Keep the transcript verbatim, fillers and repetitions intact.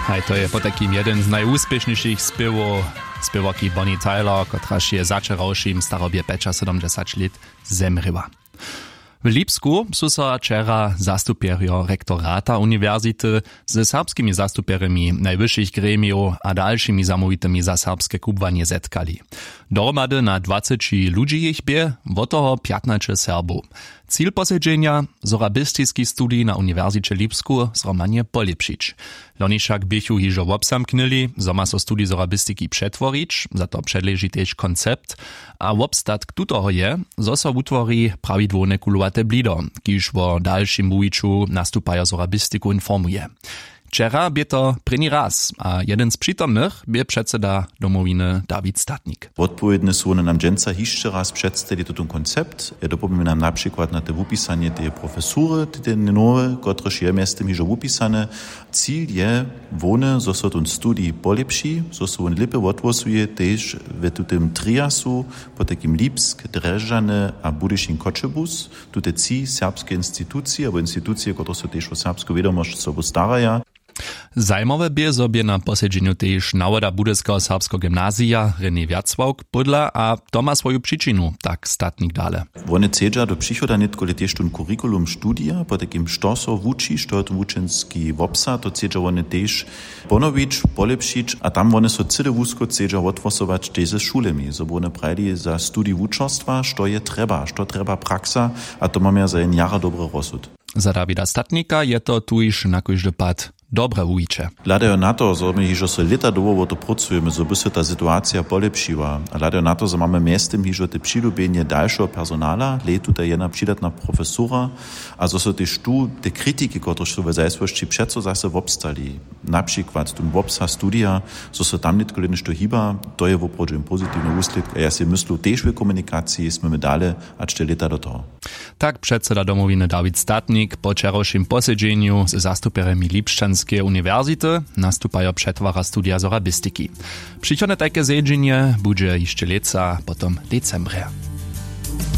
Haj, to je potajkim jedyn z najwuspěšnišich spěwow spěwarki Bonnie Tyler, kotraž je začerawšim starobje pjećasydomdźesać lět zemrěła. W Lipsku su so wčera zastupjerjo rektorata uniwersity ze serbskimi zastupjerjemi najwyšich gremijow a dalšimi zamołwitymi za serbske kubłanje zetkali. Dohromady na dwaceći ludźi jich bě, wot toho pjatnaće Serbow. Cil posedźenja: sorabistiski studij na uniwersiće w Lipsku zhromadnje polěpšić. Loni wšak běchu hižo wobzamknyli, zo ma so studij sorabistiki přetworić, za to předleži tež koncept. A wobstatk tutoho je, zo so wutwori prawidłowne kulowate blido, kiž wo dalšim wuwiću nastupajo sorabistiku informuje. Wčera bě to prěni raz a jedyn z přitomnych bě předseda Domowiny Dawid Statnik. Wotpowědne su wone nam dźensa hišće raz předstali tutón koncept. Dopomnimy nam na přikład na te wupisanje teje profesury, te nowe, kotrež je mjeztym hižo wupisane. Cil je hłowny, zo so tón studij polěpši, zo so wón lěpje wothłosuje tež w tutym triasu, potajkim Lipsk, Drježdźany a Budyšin, Choćebuz. Tute tři serbske institucije abo institucije, kotrež so tež wo serbsku wědomosć sobu staraja. Zajimawe bě, zo bě na posedźenju tež nawoda budyskeho serbskeho gymnazija René Wjacławk pódla, a to ma swoju přičinu, tak Statnik dale. Wone chcedźa do přichoda nětkole tež tón curriculum studija, potajkim što so wuči, što je to wučenski wobsah, to chcedźa wone tež ponowić, polěpšić, a tam wone so cyle wusko chcedźa wothłosować tež ze šulemi, zo by wone prajili za studij wučerstwa, što je trjeba, što trjeba praksa. A to mamy za jen jara dobry rozsud. Za Dawida Statnika je to tuž na kóždy pad dobre wuwiće. Hladajo na to, zo my hižo so lěta dołho wo to prócujemy, zo by so ta situacija polěpšiła, a hladajo na to, zo mamy mjeztym hižo te přilubjenje dalšeho personala, hlej, tutaj jedna přidatna profesura, a zo so tež tu te kritiki, kotrež su w zajsłosći přeco zase wobstali, na přikład tón wobsah studija, zo so tam nětkole něšto hiba, to je woprawdźe pozitiwny wuslědk a ja sej myslu, tež w komunikaciji smy my dale hač te lěta do toho. Tak předseda Domowiny Dawid Statnik po wčerawšim posedźenju ze zastupjerjemi Lipšćanskeje uniwersity. Nastupajo přetwara studija sorabistiki. Přichodne tajke zjedźenje budźe hišće lětsa, potom decembrje.